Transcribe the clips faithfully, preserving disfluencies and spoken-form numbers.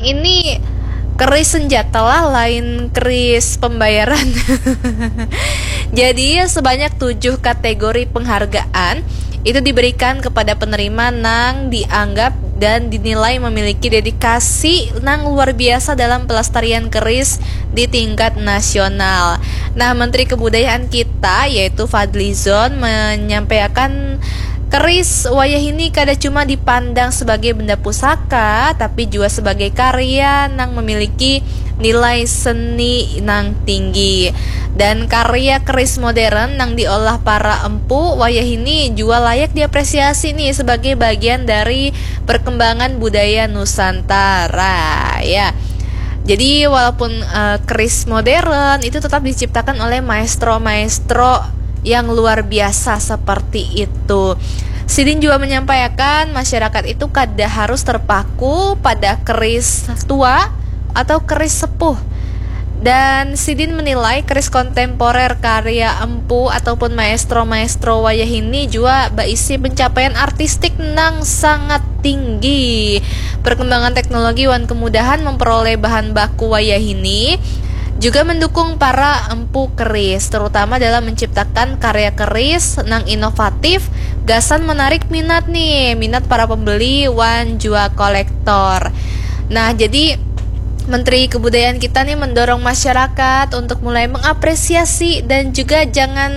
Ini keris senjata lah, lain keris pembayaran. Jadi sebanyak tujuh kategori penghargaan itu diberikan kepada penerima nang dianggap dan dinilai memiliki dedikasi nang luar biasa dalam pelestarian keris di tingkat nasional. Nah, Menteri Kebudayaan kita yaitu Fadlizon menyampaikan keris wayah ini kada cuma dipandang sebagai benda pusaka, tapi juga sebagai karya nang memiliki nilai seni nang tinggi. Dan karya keris modern nang diolah para empu wayah ini juga layak diapresiasi nih sebagai bagian dari perkembangan budaya Nusantara, ya. Jadi walaupun uh, keris modern itu tetap diciptakan oleh maestro-maestro yang luar biasa seperti itu. Sidin juga menyampaikan masyarakat itu kada harus terpaku pada keris tua atau keris sepuh. Dan sidin menilai keris kontemporer karya empu ataupun maestro-maestro wayah ini juga berisi pencapaian artistik nang sangat tinggi. Perkembangan teknologi wan kemudahan memperoleh bahan baku wayah ini juga mendukung para empu keris, terutama dalam menciptakan karya keris nang inovatif, gasan menarik minat nih, minat para pembeli wan juga kolektor. Nah, jadi Menteri Kebudayaan kita nih mendorong masyarakat untuk mulai mengapresiasi dan juga jangan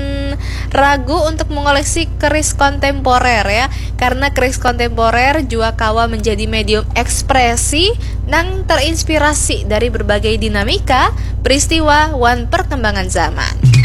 ragu untuk mengoleksi keris kontemporer ya, karena keris kontemporer juga kawa menjadi medium ekspresi nang terinspirasi dari berbagai dinamika, peristiwa, wan perkembangan zaman.